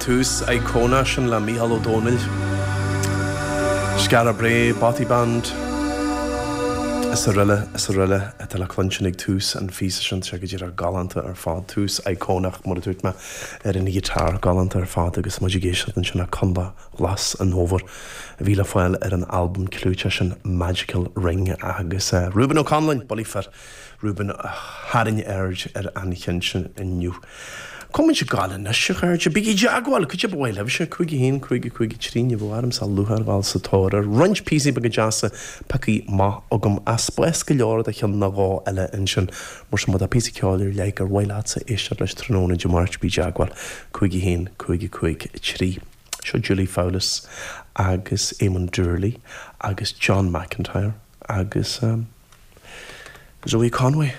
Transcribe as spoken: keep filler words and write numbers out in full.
tús íocónach sin le Mícheál Ó Domhnaill. Skara Brae, Bothy Band. Is araile is araile atá le cluinstin ag tús an phíosa sin sé go díreach galánta ar fad tús íocónach mar a dúirt mé ar an ghiotár galánta ar fad agus muid ag éisteacht ansin le Conlach Ghlas an Fhómhair a bhí le fáil ar an albam clúiteach sin Magical Ring agus uh, Reuben Ó Conláin bullaí fir Reuben a tharraing aird ar an cheann sin inniu. Cumann se gála na se chuirte bí jaagháil chu bhfuil se chuige haon chuige chuige tríne bhharm sa luthháil sa tóir roinnt píosaí beaga deasa pioctha amach agam as spás go leor de cheann nó dhó eile ansin mar sin má tá píosa ceoil ar leith ar mhaith leatsa éisteacht leis tráthnóna Dé Máirt bí i dteagmháil cúig haon cúig cúig trí. Seo Julie Fowlis agus Eamon Doorley agus John McIntyre agus um, Zoe Conway.